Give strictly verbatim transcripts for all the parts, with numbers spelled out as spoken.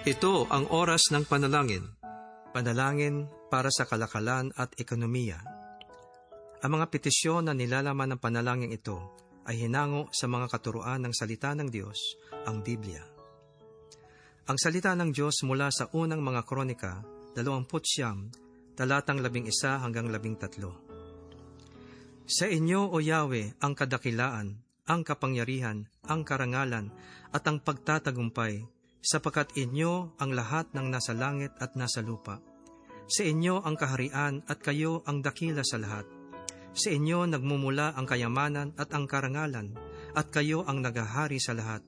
Ito ang oras ng panalangin. Panalangin para sa kalakalan at ekonomiya. Ang mga petisyon na nilalaman ng panalangin ito ay hinango sa mga katuruan ng salita ng Diyos, ang Biblia. Ang salita ng Diyos mula sa unang mga kronika, dalawampu't siyam, talatang labing isa hanggang labing tatlo. Sa inyo, O Yahweh, ang kadakilaan, ang kapangyarihan, ang karangalan, at ang pagtatagumpay, sapagkat inyo ang lahat ng nasa langit at nasa lupa. Sa inyo ang kaharian at kayo ang dakila sa lahat. Sa inyo nagmumula ang kayamanan at ang karangalan, at kayo ang naghahari sa lahat.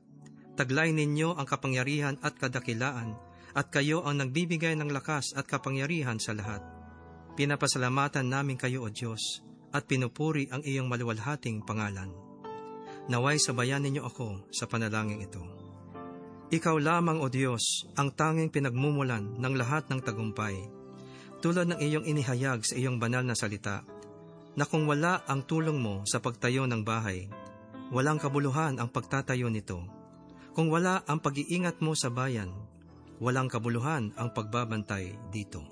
Taglay ninyo ang kapangyarihan at kadakilaan, at kayo ang nagbibigay ng lakas at kapangyarihan sa lahat. Pinapasalamatan namin kayo, O Diyos, at pinupuri ang iyong maluwalhating pangalan. Naway sabayan ninyo ako sa panalangin ito. Ikaw lamang, O Diyos, ang tanging pinagmumulan ng lahat ng tagumpay. Tulad ng iyong inihayag sa iyong banal na salita, na kung wala ang tulong mo sa pagtayo ng bahay, walang kabuluhan ang pagtatayo nito. Kung wala ang pag-iingat mo sa bayan, walang kabuluhan ang pagbabantay dito.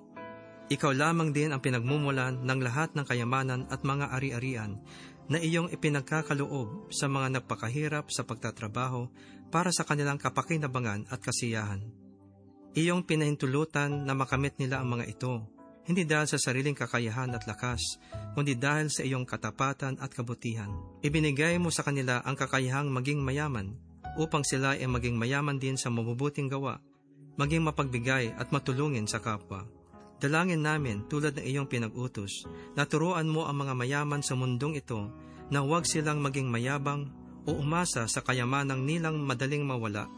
Ikaw lamang din ang pinagmumulan ng lahat ng kayamanan at mga ari-arian na iyong ipinagkakaloob sa mga nagpakahirap sa pagtatrabaho para sa kanilang kapakinabangan at kasiyahan. Iyong pinahintulutan na makamit nila ang mga ito, hindi dahil sa sariling kakayahan at lakas, kundi dahil sa iyong katapatan at kabutihan. Ibinigay mo sa kanila ang kakayahang maging mayaman, upang sila ay maging mayaman din sa mabubuting gawa, maging mapagbigay at matulungin sa kapwa. Dalangin namin tulad ng iyong pinag-utos, na turuan mo ang mga mayaman sa mundong ito na huwag silang maging mayabang o umasa sa kayamanang nilang madaling mawala.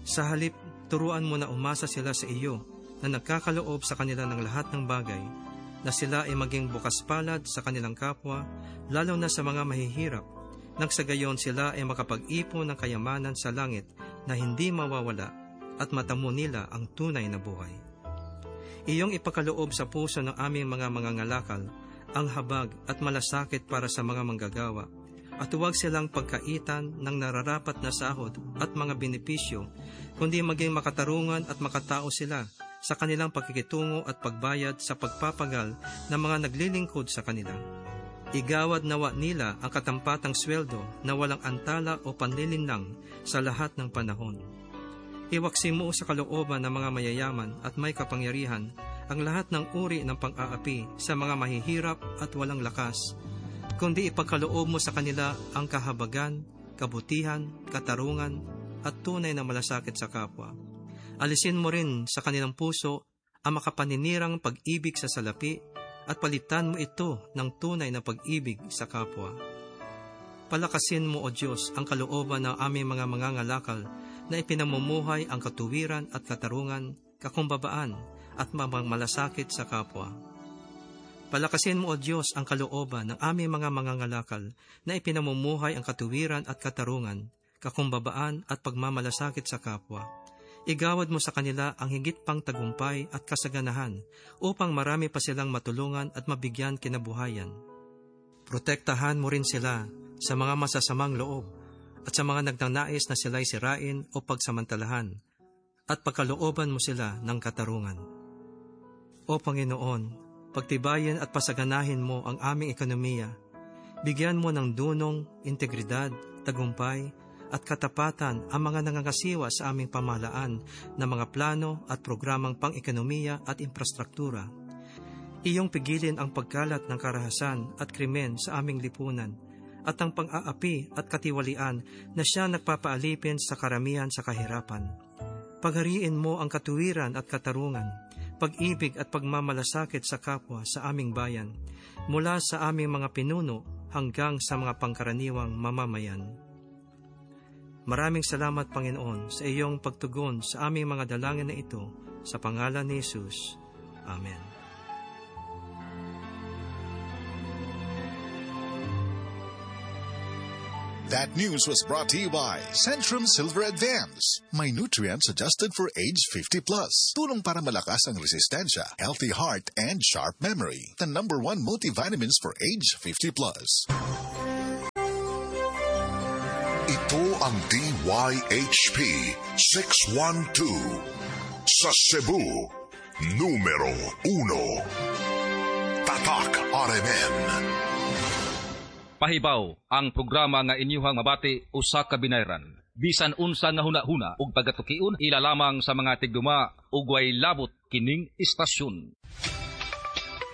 Sa halip, turuan mo na umasa sila sa iyo na nagkakaloob sa kanila ng lahat ng bagay, na sila ay maging bukas palad sa kanilang kapwa, lalo na sa mga mahihirap, nang sa gayon sila ay makapag-ipon ng kayamanan sa langit na hindi mawawala at matamo nila ang tunay na buhay. Iyong ipakaloob sa puso ng aming mga mangangalakal ang habag at malasakit para sa mga manggagawa, at huwag silang pagkaitan ng nararapat na sahod at mga benepisyo, kundi maging makatarungan at makatao sila sa kanilang pakikitungo at pagbayad sa pagpapagal ng mga naglilingkod sa kanila. Igawad nawa nila ang katampatang sweldo na walang antala o panlilinlang sa lahat ng panahon. Iwaksi mo sa kalooban ng mga mayayaman at may kapangyarihan ang lahat ng uri ng pang-aapi sa mga mahihirap at walang lakas, kundi ipagkaloob mo sa kanila ang kahabagan, kabutihan, katarungan, at tunay na malasakit sa kapwa. Alisin mo rin sa kanilang puso ang makapaninirang pag-ibig sa salapi at palitan mo ito ng tunay na pag-ibig sa kapwa. Palakasin mo, O Diyos, ang kalooban ng aming mga mangangalakal na ipinamumuhay ang katuwiran at katarungan, kakumbabaan at malasakit sa kapwa. Palakasin mo, O Diyos, ang kalooban ng aming mga mangangalakal na ipinamumuhay ang katuwiran at katarungan, kakumbabaan at pagmamalasakit sa kapwa. Igawad mo sa kanila ang higit pang tagumpay at kasaganahan upang marami pa silang matulungan at mabigyan kinabuhayan. Protektahan mo rin sila sa mga masasamang loob at sa mga nagnanais na sila'y sirain o pagsamantalahan, at pagkalooban mo sila ng katarungan. O Panginoon, pagtibayin at pasaganahin mo ang aming ekonomiya. Bigyan mo ng dunong, integridad, tagumpay, at katapatan ang mga nangangasiwa sa aming pamahalaan ng mga plano at programang pang-ekonomiya at infrastruktura. Iyong pigilin ang pagkalat ng karahasan at krimen sa aming lipunan at ang pang-aapi at katiwalian na siya nagpapaalipin sa karamihan sa kahirapan. Paghariin mo ang katuwiran at katarungan, pag-ibig at pagmamalasakit sa kapwa sa aming bayan, mula sa aming mga pinuno hanggang sa mga pangkaraniwang mamamayan. Maraming salamat, Panginoon, sa iyong pagtugon sa aming mga dalangin na ito, sa pangalan ni Jesus. Amen. That news was brought to you by Centrum Silver Advance. May nutrients adjusted for age fifty plus. Tulong para malakas ang resistensya, healthy heart, and sharp memory. The number one multivitamins for age fifty plus. Ito ang D Y H P six one two, Sa Cebu, numero uno. Tatak R M N. Pahibaw ang programa nga inyuhang mabati usa ka binayran. Bisan unsa nga huna-huna ug pagkatukion, ila lamang sa mga tigduma ug way labot kining istasyon.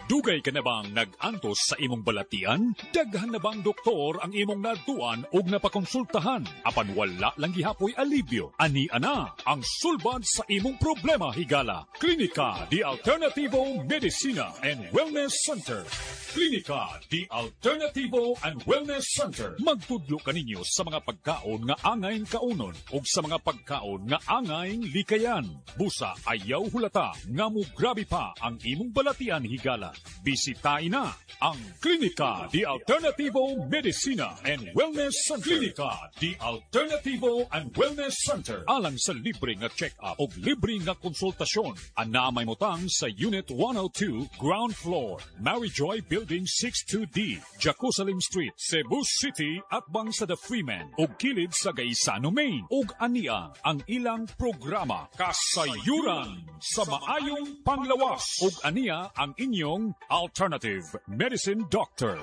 Dugay ka na bang nag-antos sa imong balatian? Daghan na bang doktor ang imong naadtuan og napakonsultahan? Apan wala lang gihapoy alibyo. Ani ana ang sulbad sa imong problema, higala. Klinika di Alternativo Medicina and Wellness Center. Klinika di Alternativo and Wellness Center. Magtudlo kaninyo sa mga pagkaon nga angayn kaunon ug sa mga pagkaon nga angayn likayan. Busa ayaw hulata nga mo grabe pa ang imong balatian, higala. Bisitahin na ang Klinika di Alternativo Medicina and Wellness Center. Klinika di Alternativo and Wellness Center. Alang sa libre nga check-up o libre nga konsultasyon, ana may motang sa Unit one oh two, Ground Floor, Mary Joy Building sixty-two D, Jacosalim Street, Cebu City, atbang sa The Freeman ug kilid sa Gaisano Main. Ug ania ang ilang programa, Kasayuran sa Maayong Panglawas. Ug ania ang inyong alternative medicine doctor.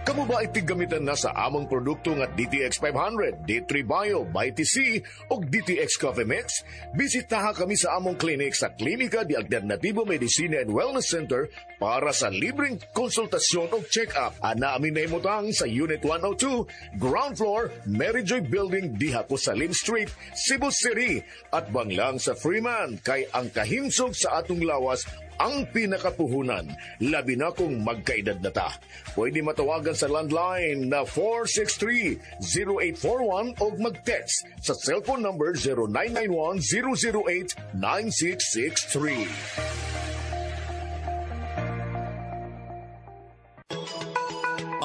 Kamo ba ay tiggamitan na sa among produkto nga D T X five hundred, D three Bio, Mighty C o D T X Coffee Mix? Bisitaha kami sa among clinic sa Klinika di Alternativo Medicina and Wellness Center para sa libreng konsultasyon o check-up. Ana amin nahimutang sa Unit one oh two, Ground Floor, Mary Joy Building, diha ko sa Lim Street, Cebu City. Atbang lang sa Freeman, kay ang kahimsog sa atong lawas ang pinakapuhunan, labi na kung magkaedad na ta. Pwede matawagan sa landline na four six three, zero eight four one o mag-text sa cellphone number zero nine nine one, zero zero eight, nine six six three.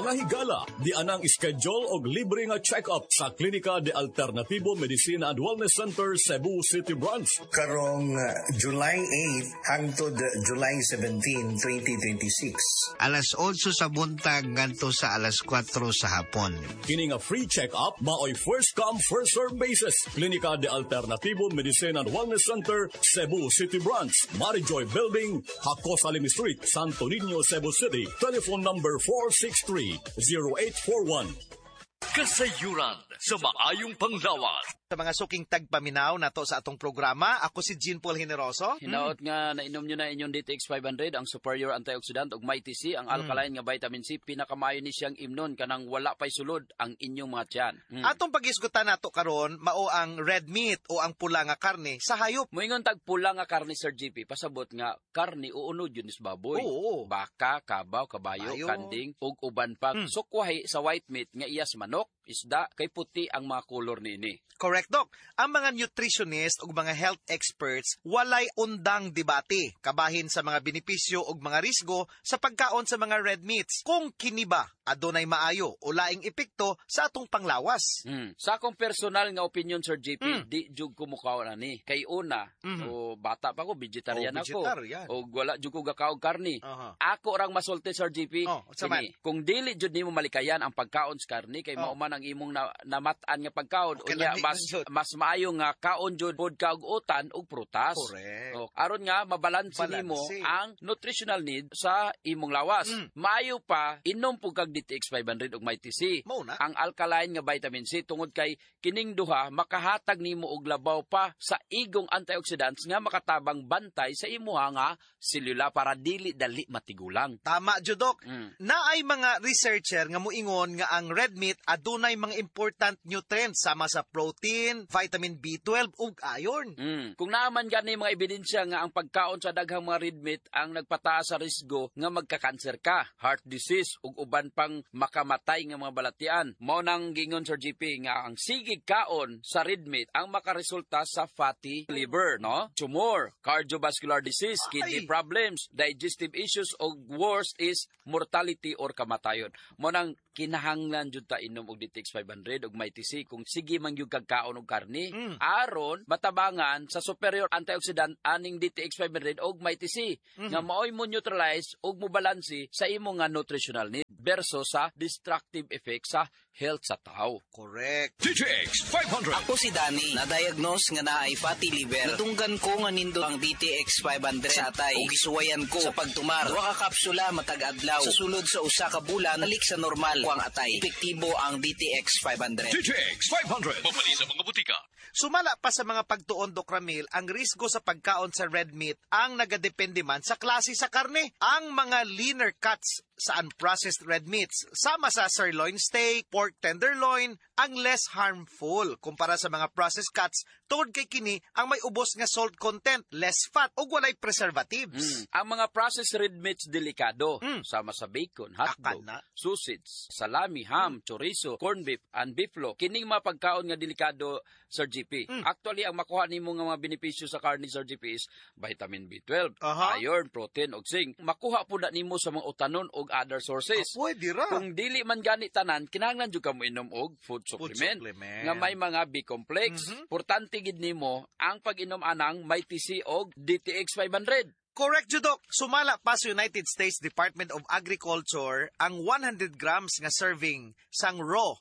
Mga higala, di anang schedule og libre nga check-up sa Klinika de Alternativo Medicina and Wellness Center, Cebu City Branch. Karong uh, July eight hangtod July seventeen, twenty twenty-six. Alas otso sa buntag ngadto sa alas kwatro sa hapon. Kini nga free check-up maoy first come, first serve basis. Klinika de Alternativo Medicina and Wellness Center, Cebu City Branch, Marijoy Building, Jacosalim Street, Santo Niño, Cebu City. Telephone number four six three, zero eight four one. Kasayuran sa Maayong Panglawas. Sa mga suking tagpaminaw nato sa atong programa, ako si Jean Paul Generoso. Hinaot nga nainom nyo na inyong D T X five hundred, ang superior antioxidant, ug Mighty C, ang alkaline nga vitamin C, pinakamayo ni siyang imnon kanang wala pay sulod ang inyong mga tiyan. Mm. Atong pagisgutan nato karon mao ang red meat o ang pula nga karne sa hayop. Moingon tag pula nga karne, Sir G P, pasabot nga karne o unod yun is baboy. Oo. Baka, kabaw, kabayo, Bayo. Kanding, ug uban pa. Mm. Sukwahi sa white meat nga iyas manok, isda, kay puti ang mga kolor niini. Correct, Doc. Ang mga nutritionist ug mga health experts, walay undang debate kabahin sa mga benepisyo ug mga risgo sa pagkaon sa mga red meats. Kung kini ba adunay maayo o laing epekto sa atong panglawas. Mm. Sa akong personal nga opinion, Sir J P, Mm. di jud ko mukaon ani. Kay una, Mhm. o bata pa ko, vegetarian Oh, ako. vegetarian. O wala jud ko gakaog karni. Aha. Ako rang masulti, Sir J P. Oh, unsa man? Kini, kung dili jud nimo malikayan ang pagkaon sa karni kay Oh. mao man ang imong na, namat-an nga pagkaon, Okay, unya lami mas man jud. Mas maayo nga kaon jud pod ka og utan ug prutas. Correct. O, aron nga mabalanse Balanse. nimo ang nutritional need sa imong lawas. Mm. Maayo pa inom pud kag D T X five hundred ug Mighty C. Mao na. Ang alkaline nga vitamin C, tungod kay kining duha makahatag nimo og labaw pa sa igong antioxidants nga makatabang bantay sa imuha nga selula para dili dali matigulang. Tama jud, Doc. Mm. Naay mga researcher nga muingon nga ang red meat adunay mga important nutrients sama sa protein, vitamin B twelve ug iron. Mm. Kung naaman gani mga ebidensya nga ang pagkaon sa daghang mga red meat ang nagpataas sa risgo nga magka-cancer ka, heart disease ug uban pang makamatay nga mga balatian. Mao nang gingon, Sir G P, nga ang sigig kaon sa red meat ang makaresulta sa fatty liver, no? Tumor, cardiovascular disease, kidney Ay. problems, digestive issues ug worst is mortality or kamatayon. Mao nang kinahanglan jud ta inom og D T X five hundred ug Mighty C kung sige man gyud kag kaon og karni Mm. aron matabangan sa superior antioxidant aning D T X five hundred og Mighty C Mhm. nga maoy mo neutralize ug mo balanse sa imo nga nutritional need versus sa destructive effect sa health sa tao. Correct. D T X five hundred. Ako si Danny, na-diagnose nga naay fatty liver. Nadunggan ko nga nindot ang D T X five hundred sa atay ug gisuwayan ko sa pagtumar. Duha ka kapsula matag adlaw. Sa sulod sa usa ka bulan, balik sa normal ko ang atay. Epektibo ang D T X five hundred. D T X five hundred. Mapali sa mga butika. Sumala pa sa mga pagtuon, Doc Ramil, ang risgo sa pagkaon sa red meat ang nagadepende man sa klase sa karne. Ang mga leaner cuts sa unprocessed red meats, sama sa sirloin steak, pork tenderloin, ang less harmful kumpara sa mga processed cuts tungod kay kini ang may ubos nga salt content, less fat ug walay preservatives. Mm. Ang mga processed red meats delikado, sama sa bacon, hotdog, Akana. Sausage, salami, ham, chorizo, corned beef, and beeflo. Kining mga pagkaon nga delikado, Sir G P. Actually, ang makuha nimo nga mga benepisyo sa karne, Sir G P, is vitamin B twelve, Aha. iron, protein ug zinc. Makuha pud na nimo sa mga utanon ug other sources. Ah, pwede ra. Kung dili man gani tanan, kinahanglan jud ka mo inom og food Food supplement, supplement. nga may mga B complex. Importante gid nimo ang pag-inom anang Mighty C og D T X five hundred. Correct, jud, Dok. Sumala pa sa United States Department of Agriculture, ang one hundred grams nga serving sang raw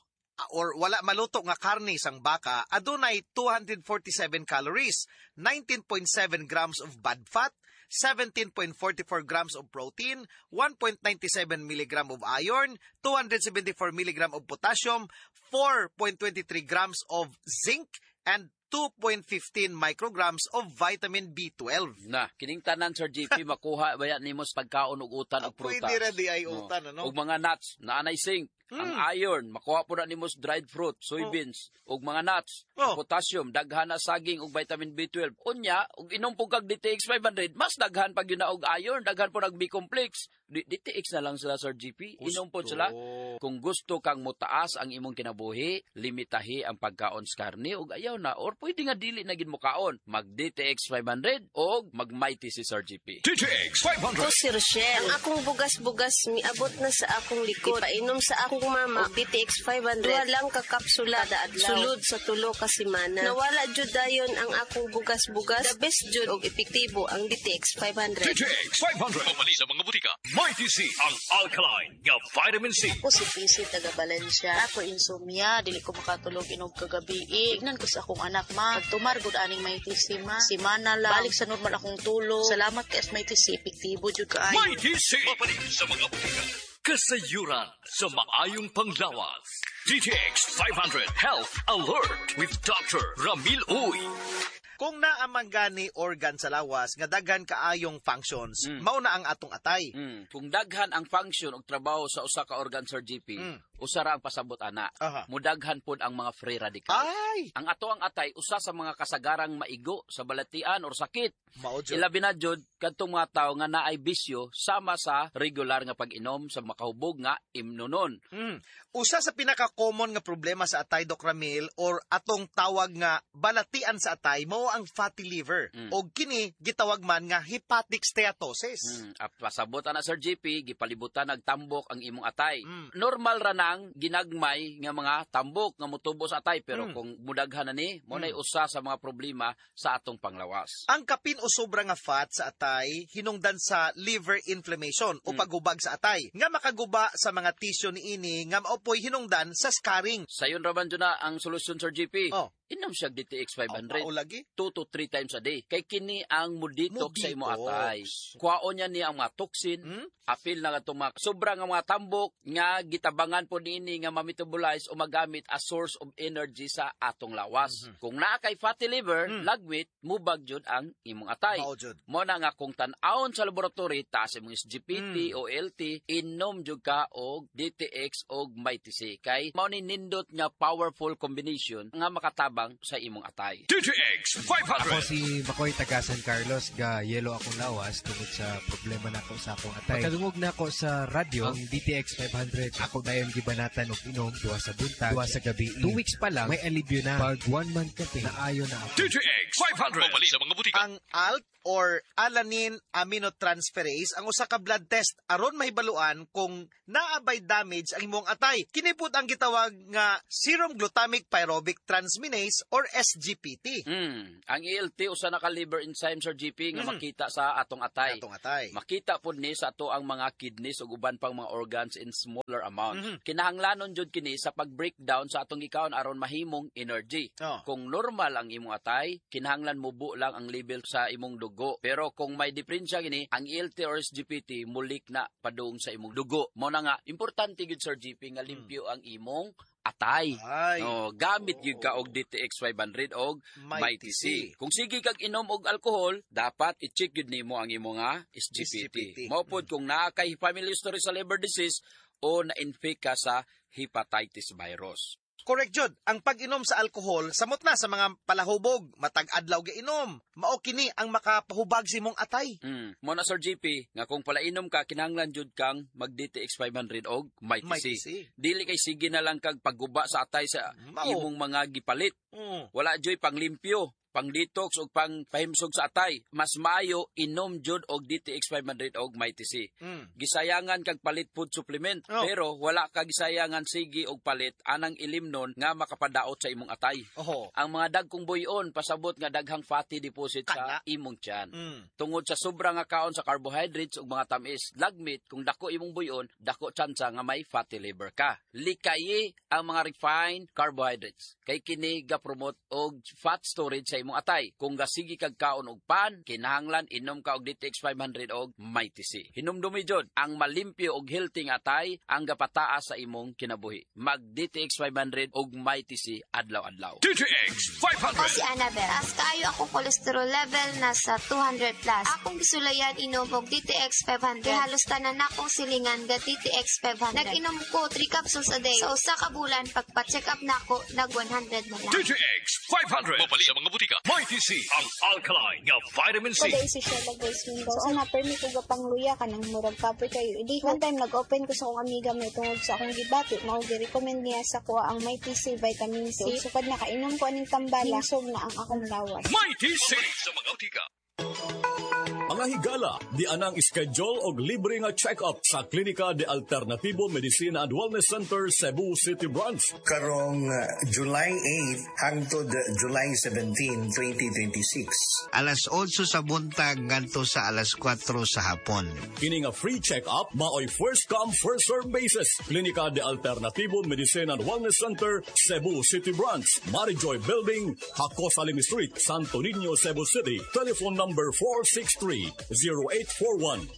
or wala maluto nga karne sang baka adunay two hundred forty-seven calories, nineteen point seven grams of bad fat, seventeen point four four grams of protein, one point nine seven milligram of iron, two hundred seventy-four milligram of potassium, four point two three grams of zinc, and two point one five micrograms of vitamin B twelve. Na, kining tanan, Sir G P, makuha ba yan nimo sa pagkaon og utan og prutas. Pwede ra di ay No. utan, ano? Og mga nuts, naanay zinc. Ang iron, makuha po na nimo sa dried fruit, soybeans, ug mga nuts. Oh. Potassium, daghan na saging ug vitamin B twelve. Unya, ug inom po kag D T X five hundred, mas daghan pag yun na og iron, daghan po nag B complex. D- DTX na lang sila, Sir G P. Inom po sila. Kung gusto kang motaas ang imong kinabuhi, limitahi ang pagkaon sa karne ug ayaw na or pwede nga dili na gid mo kaon. Mag D T X five hundred og mag Mighty si Sir G P. D T X five hundred. Ako si Rochelle. Ang akong bugas-bugas miabot na sa akong likod. Painom sa akong mama og D T X five hundred. Duha lang ka kapsula kada adlaw. Sulod sa tulo ka semana. Nawala jud dayon ang akong bugas-bugas. The best jud og epektibo ang D T X five hundred. D T X five hundred. Pamali sa mga butika. Mighty C, ang alkaline nga vitamin C. Ako si P C taga Valencia. Ako insomnia, dili ko makatulog inog kagabi. Tignan ko sa akong anak, ma. Pagtumar gud aning Mighty C, ma. Simana lang. Balik sa normal akong tulog. Salamat kay Mighty C, epektibo jud kaayo. Mighty C. Mapali sa mga butika. Kasayuran sa maayong panglawas. D T X five hundred Health Alert with Doctor Ramil Uy. Kung naa man gani organ sa lawas nga daghan kaayong functions, mao na ang atong atay. Mm. Kung daghan ang function og trabaho sa usa ka organ, Sir G P, Mm. usa ra ang pasabot ana. Aha. Mudaghan pod ang mga free radicals. Ay! Ang ato ang atay usa sa mga kasagarang maigo sa balatian or sakit. Mao jud. Ilabi na jud kadtong mga tawo nga naay bisyo sama sa regular nga pag-inom sa makahubog nga imnonon. Mm. Usa sa pinaka-common nga problema sa atay, Doc Ramil, or atong tawag nga balatian sa atay mao ang fatty liver. Mm. Og kini gitawag man nga hepatic steatosis. Mm. Ah, pasabot ana, Sir G P, gipalibutan nagtambok ang imong atay. Mm. Normal ra nang ginagmay nga mga tambok nga motubo sa atay, pero Mm. kung mudaghan na ni, mo na'y usa sa mga problema sa atong panglawas. Ang kapin o sobra nga fat sa atay hinungdan sa liver inflammation o Mm. paghubag sa atay nga makaguba sa mga tissue niini nga maopoy hinungdan sa scarring. Sayon ra man jud na ang solusyon, Sir G P. Oh. Inom siya D T X five hundred. Oh, lagi. two to three times a day. Kay kini ang mudetox sa imo Mudetox. atay. Kuhaon niya ni ang mga toxin, Hmm? apil na nga mga sobra nga mga tambok nga gitabangan po niini nga ma-metabolize o magamit as source of energy sa atong lawas. Mm-hmm. Kung naa kay fatty liver, Mm. lagwit, mubag jud ang imong atay. Mao jud. Mo na nga kung tan-awon sa laboratory, taas imong S G P T Mm. o A L T, inom jud ka og D T X og Mighty C. Kay mao ni nindot nga powerful combination nga makatabang sa imong atay. D T X five hundred. Ako si Makoy taga San Carlos, ga yelo akong lawas tungod sa problema nako sa akong atay. Pagkadungog nako sa radyo, ang D T X five hundred, ako dayon gibanatan og inom duha sa buntag, duha sa gabi. Two weeks pa lang, may alibyo na. Pag one month ka, naayo na ako. D T X five hundred. Mabali sa mga butika. Ang A L T or alanine aminotransferase ang usa ka blood test aron mahibaluan kung naa bay damage ang imong atay. Kini pud ang gitawag nga serum glutamic pyruvic transaminase or S G P T. Mm, ang A L T usa na ka liver enzyme, Sir G P, nga mm. makita sa atong atay. Atong atay. Makita pud ni sa ato ang mga kidneys ug uban pang mga organs in smaller amounts. Mm-hmm. Kinahanglanon jud kini sa pag-breakdown sa atong gikaon aron mahimong energy. Oh. Kung normal ang imong atay, kinahanglan mubo lang ang level sa imong dugo. Pero kung may diferensya kini, ang A L T or S G P T mulik na padung sa imong dugo. Mo na nga importante gyud, Sir G P, nga limpyo ang imong atay. Ay. No, gamit gyud ka og D T X five hundred og Mighty C. Kung sige kag inom og alkohol, dapat i-check gyud nimo ang imong nga S G P T. S G P T. Mao pod kung naa kay family history sa liver disease o na-infect ka sa hepatitis virus. Correct, Jud. Ang pag-inom sa alkohol, samot na sa mga palahubog, matag adlaw gainom. Mao kini ang makapahubag sa imong atay. Mm. Mo na, Sir G P, nga kung palainom ka, kinahanglan jud kang mag D T X five hundred og Mighty C. Dili kay sige na lang kag pagguba sa atay sa Mao. imong mga gipalit. Mm. Wala joy panglimpyo, pang detox og pang pahimsog sa atay. Mas maayo inom jud og D T X five hundred og Mighty C. Mm. Gisayangan kag palit food supplement, oh. pero wala ka gisayangan sige og palit anang ilimnon nga makapadaot sa imong atay. Oho. Ang mga dagkong buyon pasabot nga daghang fatty deposit Kana. sa imong tiyan. Mm. Tungod sa sobra nga kaon sa carbohydrates ug mga tamis, lagmit kung dako imong buyon, dako tsansa nga may fatty liver ka. Likayi ang mga refined carbohydrates kay kini ga-promote og fat storage sa imong atay. Kung gasigi kag kaon og pan, kinahanglan inom ka og D T X five hundred og Mighty C. Hinumdumi jud, ang malimpyo og healthy nga atay ang gapataas sa imong kinabuhi. Mag D T X five hundred og Mighty C adlaw-adlaw. D T X five hundred. Ako si Annabel. Taas kaayo akong cholesterol level nasa two hundred plus. Akong gisulayan inom og D T X five hundred. Kay halos tanan akong silingan ga D T X five hundred. Nag-inom ko three capsules a day. Sa usa ka bulan pagpa-check up nako nag one hundred na lang. D T X five hundred. Mabali sa mga butika. Mighty C, ang alkaline nga vitamin C. Paday si Sheila Grace Mendoza. So, una, permi ko gapang luya ka ng murag kapoy kayo. Idi, one time, nag-open ko sa akong amiga may tungod sa akong gibati. Mao gi-recommend niya sa kuha ang Mighty C, vitamin C. Sukad na kainom ko aning tambala, hingsog na ang akong lawas. Mighty C sa mga butika. Mga higala, di anang schedule og libre nga check-up sa Klinika de Alternativo Medicina and Wellness Center, Cebu City Branch. Karong July eighth hangtod July seventeenth, twenty twenty-six. Alas otso sa buntag ngadto sa alas kwatro sa hapon. Kini nga free check-up maoy first come first serve basis. Klinika de Alternativo Medicina and Wellness Center, Cebu City Branch, Marijoy Building, Hakosalim Street, Santo Niño, Cebu City. Telephone number four six three, zero eight four one.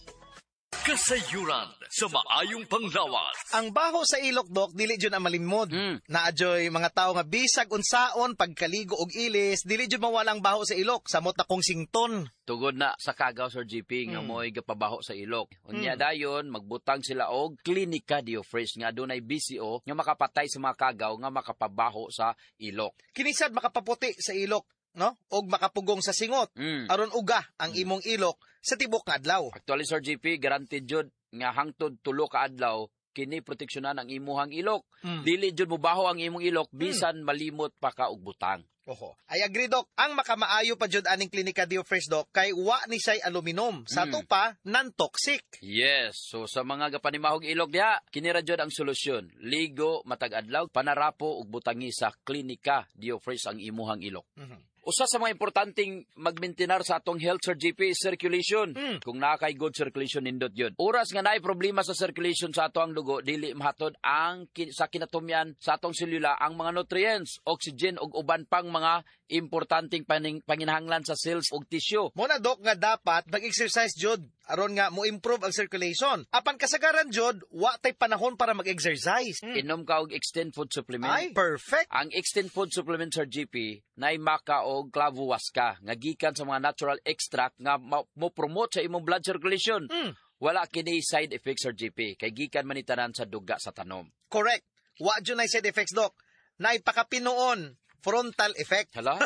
Kasayuran sa maayong panglawas. Ang baho sa ilok, Dok, dili jud ang malimod. Mm. Naadyoy mga tao nga bisag unsaon pagkaligo og ilis, dili jud mawala ang baho sa ilok, samot na kong sington. Tugod na sa kagaw, Sir G P, nga mm. mo'y gapabaho sa ilok. Unya mm. dayon magbutang sila og Klinika Dio Fresh nga adunay B C O nga makapatay sa mga kagaw nga makapabaho sa ilok. Kinisad makapaputi sa ilok, no? Og makapugong sa singot. Mm. Aron uga ang imong ilok sa tibok nga adlaw. Actually, Sir G P, guaranteed jud nga hangtod tulo ka adlaw kini proteksyonan ang imuhang ilok. Mm. Dili jud mobaho ang imong ilok bisan mm. malimot pa ka og butang. Oho. I agree, Doc. Ang makamaayo pa jud aning Klinika Dio Fresh, Doc, kay wa ni siya'y aluminum. Sa mm. ato pa, non-toxic. Yes. So sa mga gapanimahog ilok diha, kini ra jud ang solusyon. Ligo matag adlaw, panarapo ug butangi sa Klinika Dio Fresh ang imuhang ilok. Mm-hmm. Usa sa mga importanteng magmaintenar sa atong health, Sir G P, is circulation. Mm. Kung naa kay good circulation, nindot yun. Oras nga naay problema sa circulation sa ato ang dugo, dili mahatod ang kin- sa kinatumyan sa atong selula ang mga nutrients, oxygen ug uban pang mga importanteng paning, panginahanglan sa cells ug tissue. Mo na, Dok, nga dapat mag-exercise jud aron nga mo improve ang circulation. Apan kasagaran jud, wa tay panahon para mag-exercise. Mm. Inom ka og Extend Food Supplement. Ay, perfect. Ang Extend Food Supplement, Sir G P, nay maka og clavuaska nga gikan sa mga natural extract nga mo promote sa imong blood circulation. Mm. Wala kini side effects, Sir G P, kay gikan man ni tanan sa duga sa tanom. Correct. Wa jud nay side effects, Doc. Naipakapinuon frontal effect. Hala?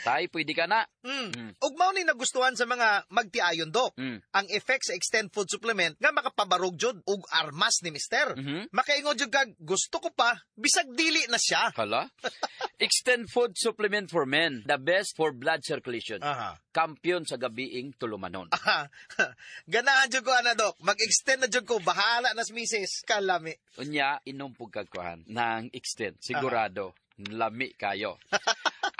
Tay, pwede ka na. Mm. Mm. Ug mao ni nagustuhan sa mga magtiayon, Dok. Mm. Ang effect sa Extend Food Supplement nga makapabarog jud og armas ni mister. Mm-hmm. Makaingon jud kag gusto ko pa bisag dili na siya. Hala? Extend Food Supplement for Men, the best for blood circulation. Aha. Kampiyon sa gabiing tulumanon. Aha. Ganahan jud ko ana, Dok. Mag-extend na jud ko, bahala na sa misis. Kalami. Unya inom pug kag kuhan ng Extend, sigurado. Aha. Lami kayo.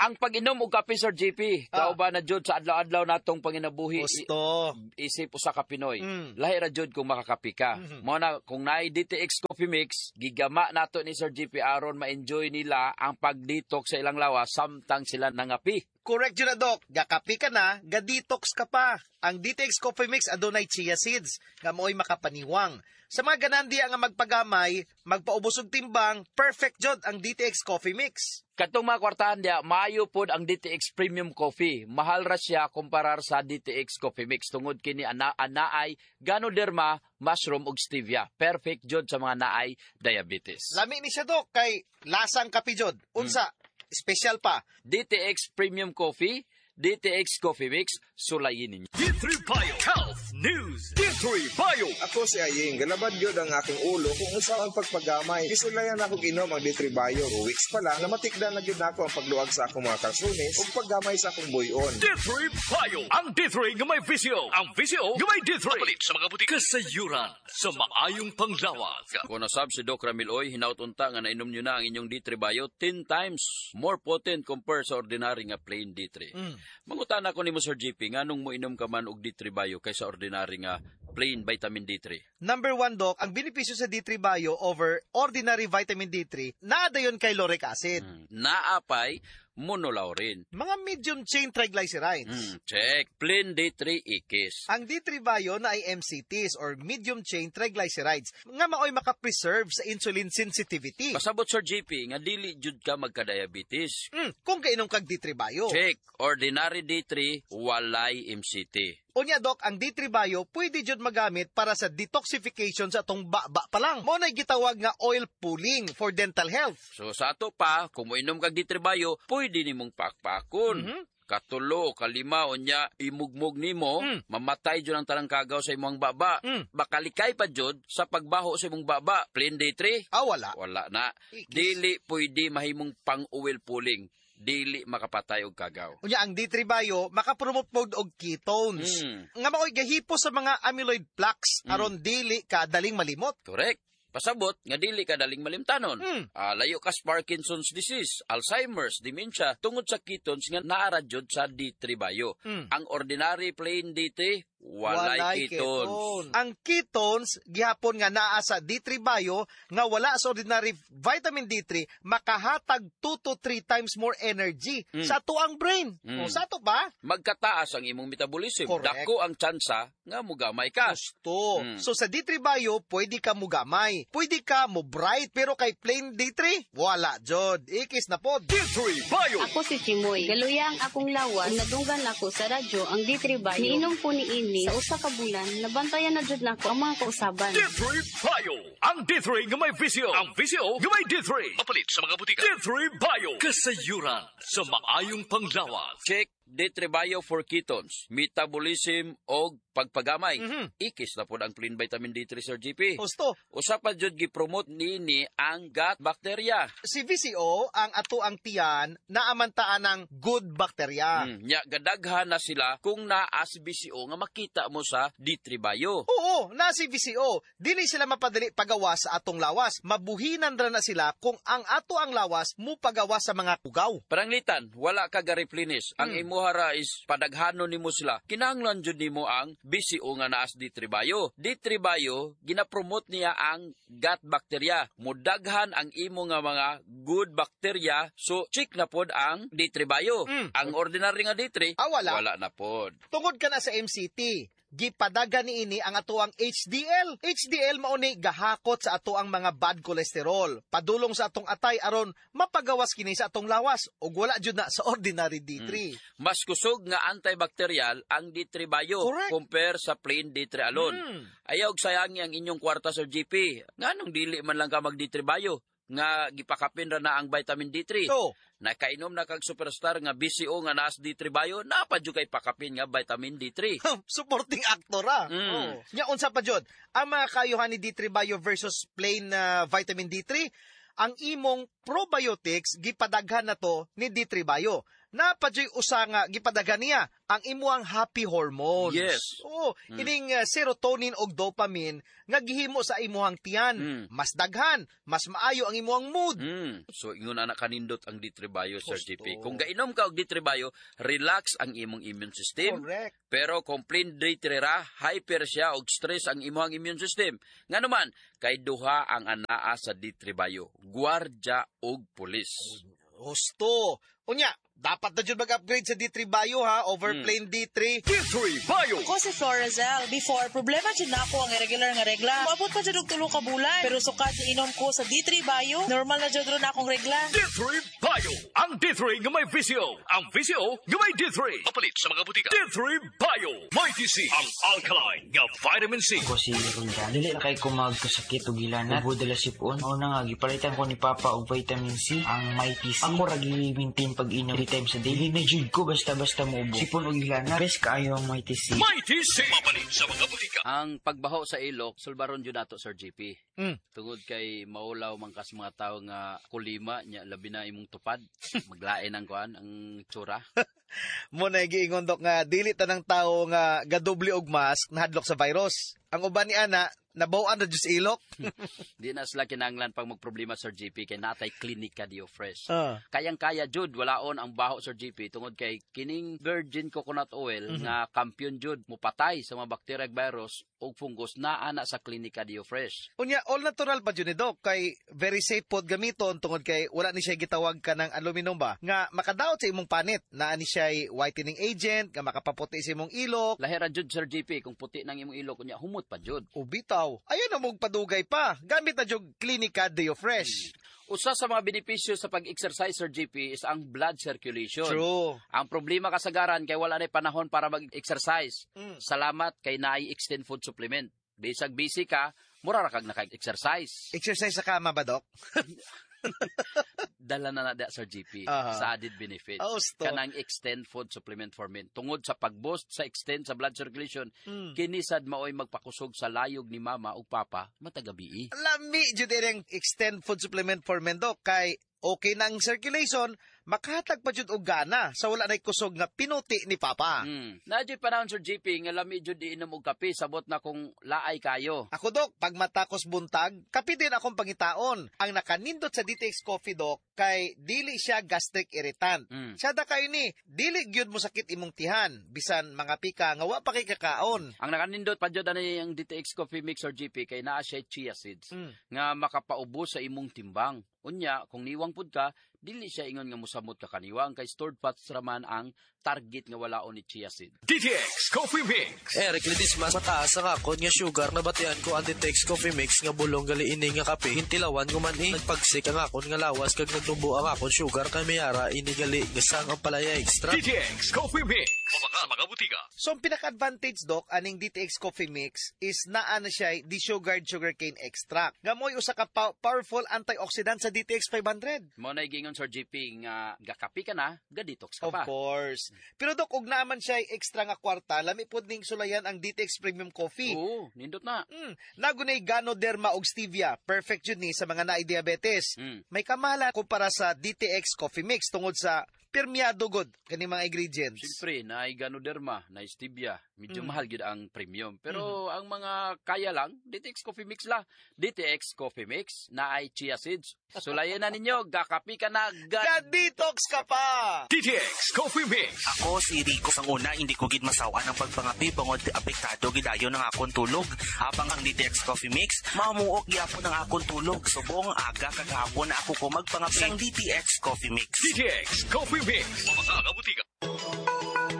Ang pag-inom og kape, Sir J P, ah. kauban na jud sa adlaw-adlaw natong panginabuhi. Gusto. Isip usa ka Pinoy. Mm. Lahi ra jud kung makakape ka. Mm-hmm. Mo na kung naay D T X Coffee Mix, gigama nato ni Sir J P aron ma-enjoy nila ang pag-detox sa ilang lawas samtang sila nangapi. Correct yun na, Dok. Gakapi ka na, ga-detox ka pa. Ang D T X Coffee Mix adunay chia seeds nga mooy makapaniwang. Sa mga ganan diya nga magpagamay, magpaubos og timbang, perfect jud ang D T X Coffee Mix. Katong mga kwartahan diya, maayo pod ang D T X Premium Coffee. Mahal ra siya kumparar sa D T X Coffee Mix tungod kini ana anaay ganoderma, mushroom ug stevia. Perfect jud sa mga naay diabetes. Lami ni siya, Dok, kay lasang kape jud. Unsa? Hmm. Special pa. D T X Premium Coffee, D T X Coffee Mix, sulayin ninyo. D three Bio Health News. D three Bio. Ako si Aying, galabad yun ang aking ulo kung unsa ang pagpagamay. Gisulayan ako ginom ang D three Bio. Two weeks pa lang, namatikdan na gyud nako ang pagluag sa akong mga kalsunis ug paggamay sa akong buyon. D three Bio. Ang D three nga may V C O. Ang V C O nga may D three. Palit sa mga butik. Kasayuran sa maayong panglawas. Kung nasab si Doc Ramil Oy, hinaut unta nga nainom nyo na ang inyong D three Bio ten times more potent compared sa ordinary nga plain D three. Mm. Mangutan ako nimo, Sir J P, nganong mo inom ka man og D three Bio kaysa ordinary nga plain vitamin D three? Number one, Doc, ang benepisyo sa D three Bio over ordinary vitamin D three, naa dayon kay lauric acid. Mm. Naapay monolaurin. Mga medium chain triglycerides. Mm, check. Plain D three ikis. Ang D three Bio na ay M C Ts or medium chain triglycerides nga maoy makapreserve sa insulin sensitivity. Pasabot, Sir J P, nga dili jud ka magka-diabetes. Mm, kung kainom kag D three Bio. Check. Ordinary D three, walay M C T. Unya, Doc, ang D three Bio pwede jud magamit para sa detoxification sa atong baba pa lang. Mo na'y gitawag nga oil pulling for dental health. So sa ato pa, kung moinom kag D three Bio, pwede nimong pakpakon. Mm-hmm. Katulo, kalima, unya, imugmug nimo, mm. mamatay jud ang tarangkagaw sa imong baba. Mm. Bakalikay pa jud sa pagbaho sa imong baba. Plain D three? Ah, wala. Wala na. Ikis. Dili pwede mahimong pang-oil pulling. Dili makapatay og kagaw. Unya ang D three Bio makapromote pod og ketones. Mm. Nga maoy gahipo sa mga amyloid plaques mm. aron dili ka daling malimot. Correct. Pasabot nga dili ka daling malimtanon. Mm. Uh, layo ka sa Parkinson's disease, Alzheimer's, dementia tungod sa ketones nga naara jud sa D three Bio. Mm. Ang ordinary plain D three walay, walay ketones. Ketone. Ang ketones gihapon nga naa sa D three Bio nga wala sa ordinary vitamin D three makahatag two to three times more energy mm. sa ato ang brain. Mm. O sa ato pa? Magkataas ang imong metabolism. Correct. Dako ang tsansa nga mugamay ka. Gusto. Mm. So sa D three Bio pwede ka mugamay. Pwede ka mo bright pero kay plain D three wala jod. Ikis na po. D three Bio. Ako si Chimoy. Galuya ang akong lawas. Nadunggan ako sa radyo ang D three Bio. Niinom ko ni ini sa usa ka bulan, nabantayan na jud nako ang mga kausaban. D three Bio. Ang D three nga may V C O. Ang V C O nga may D three. Mapalit sa mga butika. D three Bio. Kasayuran sa maayong panglawas. Check. D three Bio for ketones, metabolism og pagpagamay. Mm-hmm. Ikis na pod ang plain vitamin D three, Sir J P. Gusto. Usa pa jud gipromote niini ang gut bacteria. Si V C O ang ato ang tiyan na amantaan ng good bacteria. Mm, nya gadaghan na sila kung naa si V C O nga makita mo sa D three Bio. Oo, na si V C O. Dili sila mapadali pagawa sa atong lawas. Mabuhinan ra na sila kung ang ato ang lawas mo pagawa sa mga kugaw. Paranglitan, wala ka ga-replenish. Ang mm. imo hara is padaghanon nimo sila. Kinahanglan jud nimo ang V C O nga naas D three Bio. D three Bio ginapromote niya ang gut bacteria. Mudaghan ang imo nga mga good bacteria, so check na pod ang D three Bio. Mm. Ang ordinary nga D three, ah, wala. Wala na pod. Tungod ka na sa M C T, gipadagan niini ang atoang H D L. H D L mao ni gahakot sa atoang mga bad cholesterol. Padulong sa atong atay aron mapagawas kini sa atong lawas ug wala jud na sa ordinary D three. Mm. Mas kusog nga antibacterial ang D three Bio Correct. compare sa plain D three alone. Mm. Ayaw og sayangi ang inyong kwarta, Sir G P. Nganong dili man lang ka mag D three Bio? nga gipakapin ra na ang vitamin D three. Oh. Nakainom na kag superstar nga B C O nga naas D three Bio, napa jud kay pakapin nga vitamin D three. Supporting actor ra. Mm. Oh. Nya unsa pa jud? Ang mga kayuhan ni D three Bio versus plain uh, vitamin D three, ang imong probiotics gipadaghan na to ni D three Bio. Napadyo'y usa nga gipadaghan niya ang imuang happy hormones. Yes. Oo, Mm. ining uh, serotonin og dopamine nga gihimo sa imuhang tiyan. Mm. Mas daghan, mas maayo ang imuhang mood. Mm. So ingon ana kanindot ang D three Bio, Sir Husto. G P. Kung gainom ka og D three Bio, relax ang imong immune system. Correct. Pero kung plain D three ra, hyper siya og stress ang imuhang immune system. Ngano man, kay duha ang anaa sa D three Bio, gwardya og pulis. Husto. Unya, dapat na dyan mag-upgrade sa D three Bio ha, over Mm. plain D three. D three Bio! Ako si Florazel. Before, problema dyan na ako ang irregular nga regla. Maabot pa dyan og tulo ka bulan. Pero sukad na inom ko sa D three Bio, normal na dyan ron akong regla. D three Bio! Ang D three nga may V C O. Ang V C O nga may D three. Papalit sa mga butika. D three Bio! Mighty C! Ang alkaline nga vitamin C. Ako si Roldan. Dili na kay ko magkasakit og hilanat. Ubo dala sipon. Mao na nga, gipalitan ko ni Papa og vitamin C, ang Mighty C. Ako ra gi-maintain pag-inom three times a day. Dili na jud ko basta-basta muubo. Sipon og hilanat. Best kaayo ang Mighty C. Mighty C! Papalit sa mga butika. Ang pagbaho sa ilok, sulbaron jud nato, Sir G P. Mm. Tungod kay maulaw man kas mga tawo nga kulima nya labi na imong tupad, maglain ang kuan ang tsura. Mo na giingon dok nga dili tanang tawo nga gadoble og mask nahadlok sa virus. Ang uban ni ana nabaw-an na jud sa ilok. Di na sila kinahanglan pang magproblema, Sir G P, kay natay klinika Dio Fresh. Ah. Kayang-kaya jud walaon ang baho, Sir G P, tungod kay kining virgin coconut oil mm-hmm. nga kampiyon jud mupatay sa mga bakterya, virus ug fungus na ana sa klinika Dio Fresh. Unya all natural pa jud ni Doc kay very safe pod gamiton tungod kay wala ni siya gitawag ka ng aluminum ba nga makadaot sa imong panit, naa ni siya whitening agent nga makapaputi sa imong ilok. Lahera jud, Sir G P, kung puti nang imong ilok unya humot pa jud. O bitaw, ayun na mong padugay pa. Gamit na jud Klinika Dio Fresh. Hmm. Usa sa mga benepisyo sa pag-exercise, Sir G P, is ang blood circulation. True. Ang problema kasagaran kay wala na panahon para mag-exercise. Mm. Salamat kay naay extend food supplement. Bisag busy ka, mura ra kag naka-exercise. Exercise sa kama ba, Doc? Dala na na da, Sir G P, uh-huh. sa added benefits. Oh, kanang extend food supplement for men. Tungod sa pag-boost sa extend sa blood circulation, mm. kinisad maoy magpakusog sa layog ni mama ug papa matagabi. Lami jud ang extend food supplement for men, Doc, kay okay na ang circulation, makahatag pa jud og gana sa wala nay kusog nga pinuti ni Papa. Mm. Naa jud panahon, Sir G P, nga lami jud iinom og kape, sabot na kung laay kayo. Ako, Dok, pag matakos buntag, kape din akong pangitaon. Ang nakanindot sa D T X Coffee, Dok, kay dili siya gastric irritant. Mm. Sada kayo ni, dili gyud mo sakit imong tihan, bisan mga pika nga wa pa kay kakaon. Ang nakanindot pa jud ani ang D T X Coffee Mix, Sir G P, kay naa siya chia seeds mm. nga makapaubos sa imong timbang. Unya, kung niwang pud ka, dili siya ingon nga mosamot ka kaniwang kay stored fats raman ang target nga walaon ni chia seed. D T X Coffee Mix. Eric Ledesma, mataas ang akon nga sugar nabatian ko ang D T X Coffee Mix nga bulong gali ini nga kape. Hintilawan ko man eh. Nagpagsik ang akon nga lawas kag nagtumbo ang akon sugar kay mayara ini gali gasang ang palaya extra. D T X Coffee Mix. Mga mga butika. So ang pinaka-advantage, Doc, aning D T X Coffee Mix is naa na siya desugared sugarcane extract. Nga mo'y usa ka powerful antioxidant sa D T X five hundred. Mo na giingon, Sir G P, nga gakapi ka na, ga-detox ka Of pa. Of course. Pero Doc, og naaman siya extra nga kwarta, lami pod ning sulayan ang D T X Premium Coffee. Oo, nindot na. Mm, nagunay Ganoderma og stevia. Perfect jud ni sa mga naay diabetes. Mm. May kamahalan kumpara sa D T X Coffee Mix tungod sa pirmiyado god kani mga ingredients. Siyempre, naay Ganoderma, naay stevia, medyo Mm. mahal gyud ang premium. Pero ang mga kaya lang, D T X Coffee Mix la. D T X Coffee Mix, naay chia seeds. Sulayan na ninyo, gakapi ka na, ga-detox ka pa! D T X Coffee Mix. Ako si Rico. Sang una, hindi ko gid masawan ang pagpangapi bangod apektado gidayon ang akong tulog. Habang ang D T X Coffee Mix, mamuok gyapon ang akong tulog. Subong aga kag hapon ako ko magpangapi ang D T X Coffee Mix. D T X Coffee Mix. Mga kabutika.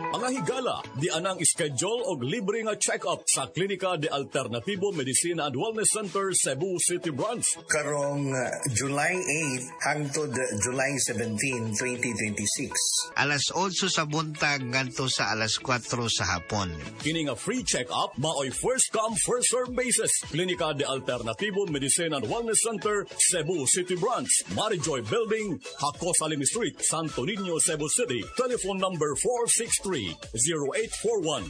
Mga Tara higala, di anang schedule og libre nga check-up sa Klinika de Alternatibo Medicina and Wellness Center, Cebu City Branch. Karong uh, July eight hangtod July seventeen, twenty twenty-six. Alas otso sa buntag ngadto sa alas kwatro sa hapon. Kini nga free check-up maoy first come first serve basis. Klinika de Alternatibo Medicina and Wellness Center, Cebu City Branch, Marijoy Building, Jacosalem Street, Santo Niño, Cebu City. Telephone number four six three, zero eight four one.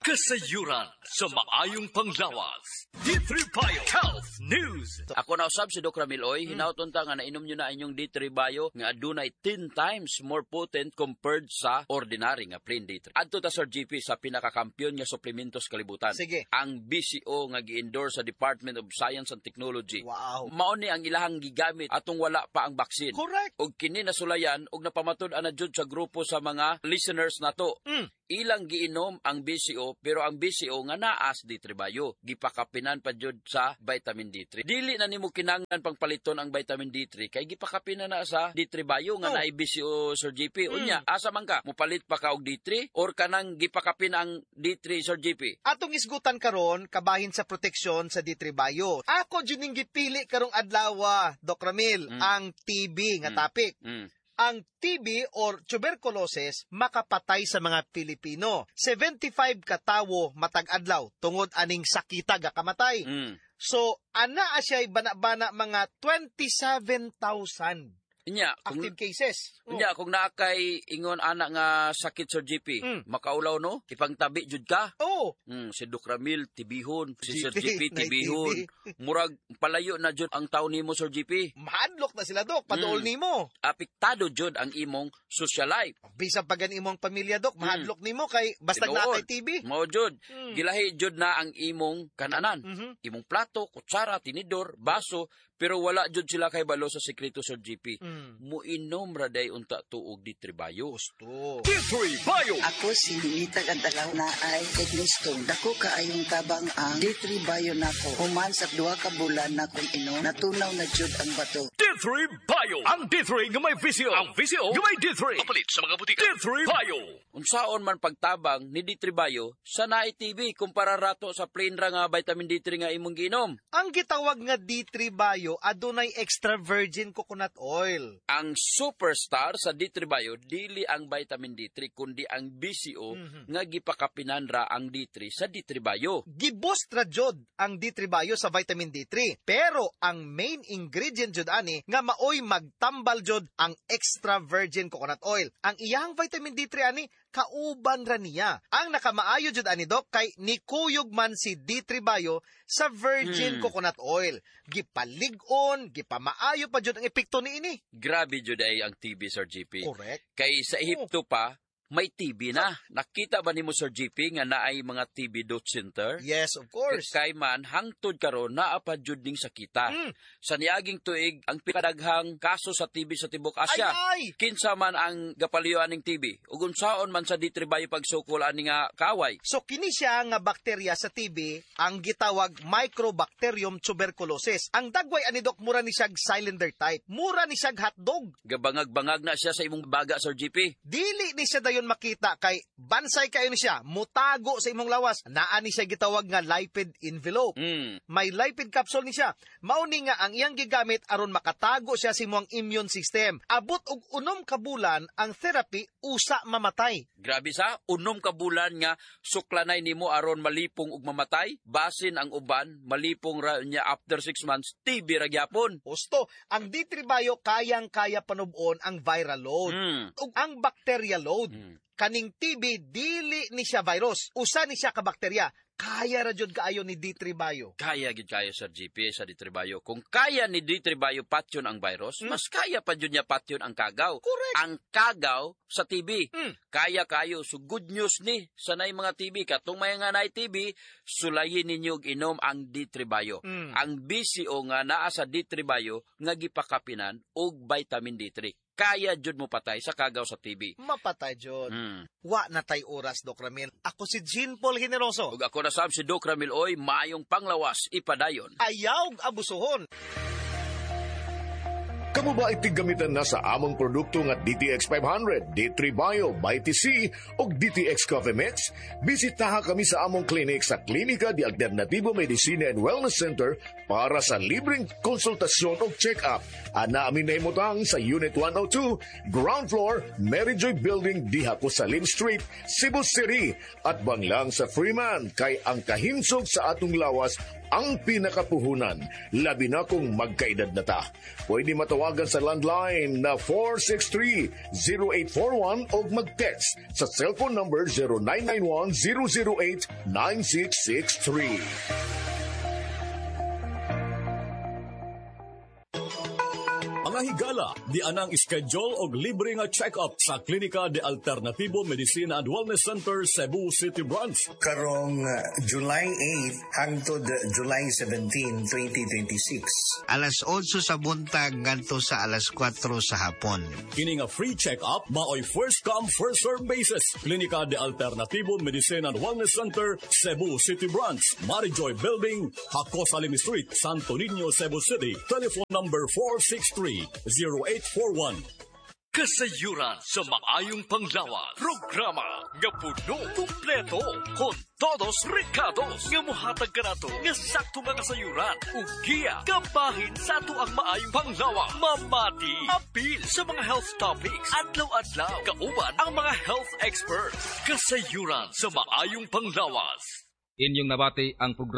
Kasayuran sa maayong panglawas. D three Bio Health News. Ako na usab si Doc Ramil Oy, mm. Hinauton ta nga nainom nyo na inyong D three Bio nga adunay ten times more potent compared sa ordinary nga plain D three. Adto ta Sir G P sa pinakakampiyon nga suplementos kalibutan. Sige. Ang B C O nga gi-endorse sa Department of Science and Technology. Wow. Mao ni ang ilahang gigamit atong wala pa ang vaccine. Correct. Og kini nasulayan og napamatud-an na jud sa grupo sa mga listeners nato. Mm. Ilang giinom ang B C O pero ang B C O nga naas D three Bio gipakapinan pa jud sa vitamin D three. Dili na nimo kinahanglan pangpaliton ang vitamin D three kay gipakapinan na sa D three Bio nga oh. naay B C O Sir G P. Mm. Unya asa man ka mopalit pa ka og D three or kanang gipakapin ang D three Sir G P? Atong isgutan karon kabahin sa proteksyon sa D three Bio. Ako jud ning gipili karong adlaw, Doc Ramil, mm. ang T B nga mm. topic. Mm. Ang T B or tuberculosis makapatay sa mga Pilipino. seventy-five katawo matag adlaw tungod aning sakita gakamatay. Mm. So ana siya'y bana-bana mga twenty-seven thousand Inya, kung, active cases. Oh. Inya, kung naa kay ingon ana nga sakit Sir G P, mm. makaulaw no, ipangtabi jud ka. Oh. Mm, si Doc Ramil tibihon, si Sir G P tibihon. Murag palayo na jud ang tawo nimo Sir G P. Mahadlok na sila Dok, paduol mm. nimo. Apektado jud ang imong social life. Bisan pa gani imong pamilya Dok, mahadlok mm. nimo kay basta naa kay T B. Mao jud. Mm. Gilahi jud na ang imong kananan. Mm-hmm. Imong plato, kutsara, tinidor, baso, pero wala jud sila kay balo sa sekreto Sir G P. Mm. Muinom ra day unta tuog D three Bio. Gusto. D three Bio. Ako si Ninita Gantalaw na ay kay dako kaayong tabang ang D three Bio nako. Human sa duha ka bulan na kong inom, natunaw na jud ang bato. D three Bio. Ang D three nga may V C O. Ang V C O nga may D three. Papalit sa mga butika. D three Bio. Unsaon man pagtabang ni D three Bio sa naay T B kumpara rato sa plain ra nga vitamin D three nga imong giinom. Ang gitawag nga D three Bio adunay extra virgin coconut oil. Ang superstar sa D three Bio dili ang vitamin D three kundi ang B C O mm-hmm. nga gipakapinan ra ang D three sa D three Bio. Giboost ra jud ang D three Bio sa vitamin D three pero ang main ingredient jud ani nga maoy magtambal jud ang extra virgin coconut oil. Ang iyang vitamin D three ani kauban ra niya. Ang nakamaayo jud ani Dok kay nikuyog man si D three Bio sa virgin mm. coconut oil. Gipalig-on, gipamaayo pa jud ang epekto niini. Grabe jud ay ang T B Sir G P. Correct. Kay sa Ehipto oh. pa may T B na. Nakita ba nimo Sir G P nga naay mga T B dot center? Yes, of course. Kay man hangtod karon naa pa jud ning sakita. Mm. Sa niaging tuig ang pinakadaghang kaso sa T B sa tibuok Asia. Ay, ay! Kinsa man ang gapaliyo aning T B ug unsaon man sa D three Bio pagsukol ani nga kaway. So kini siya nga bakterya sa T B ang gitawag Microbacterium tuberculosis. Ang dagway ani Dok mura ni siyag cylinder type. Mura ni siyag hotdog. Gabangag-bangag na siya sa imong baga Sir G P. Dili ni siya dayon makita kay bansay kayo ni siya, mutago sa imong lawas. Naa ni siya gitawag nga lipid envelope. Mm. May lipid capsule ni siya. Mao ni nga ang iyang gigamit aron makatago siya sa imong immune system. Abot og unom ka bulan ang therapy usa mamatay. Grabe sa unom ka bulan nga suklanay nimo aron malipong og mamatay. Basin ang uban malipong ra niya after six months T B ra gyapon. Husto, ang D three Bio kayang-kaya panub-on ang viral load mm. ug ang bacterial load. Mm. Kaning T B dili ni siya virus, usa ni siya ka bakterya. Kaya ra jud kaayo ni D three Bio. Kaya gyud kayo Sir G P sa D three Bio. Kung kaya ni D three Bio patyon ang virus, mm. mas kaya pa jud niya patyon ang kagaw. Correct. Ang kagaw sa T B. Mm. Kaya kayo. So good news ni sa nay mga T B. Katong may nga nay T B, sulayin ninyo og inom ang D three Bio. Mm. Ang B C O nga naa sa D three Bio nga gipakapinan og vitamin D three. Kaya jud mo patay sa kagaw sa T B. Mapatay jud. Mm. Wa na tay oras, Doc Ramil. Ako si Jean Paul Generoso. Ug ako na sab si Doc Ramil Oy, maayong panglawas ipadayon. Ayaw abusuhon. Kamo ba ay tiggamitan na sa among produkto nga D T X five hundred, D three Bio, B T C o D T X Coffee Mix? Bisitaha kami sa among clinic sa Klinika de Alternativo Medicina and Wellness Center para sa libreng konsultasyon o check-up. Ana amin nahimutang sa Unit one oh two, Ground Floor, Mary Joy Building, diha ko Salim Street, Cebu City. At banglang sa Freeman, kay ang kahinsog sa atong lawas ang pinakapuhunan, labi na kung magkaedad na ta. Pwede matawagan sa landline na four six three, zero eight four one o mag-text sa cellphone number zero nine nine one, zero zero eight, nine six six three. Mga higala, di anang schedule og libre nga check-up sa Klinika de Alternativo Medicina and Wellness Center, Cebu City Branch. Karong uh, July eight hangtod July seventeen, twenty twenty-six. Alas otso sa buntag ngadto sa alas kwatro sa hapon. Kini nga free check-up maoy first come, first serve basis. Klinika de Alternativo Medicina and Wellness Center, Cebu City Branch, Marijoy Building, Jacosalem Street, Santo Niño, Cebu City. Telephone number four six three, zero eight four one. Kasayuran sa maayong panglawas. Programa nga puno kumpleto con todos recados nga muhatag kanato nga sakto nga kasayuran ug giya kabahin sa ato ang maayong panglawas. Mamati apil sa mga health topics adlaw-adlaw kauban ang mga health experts. Kasayuran sa maayong panglawas. Inyong nabati ang programa.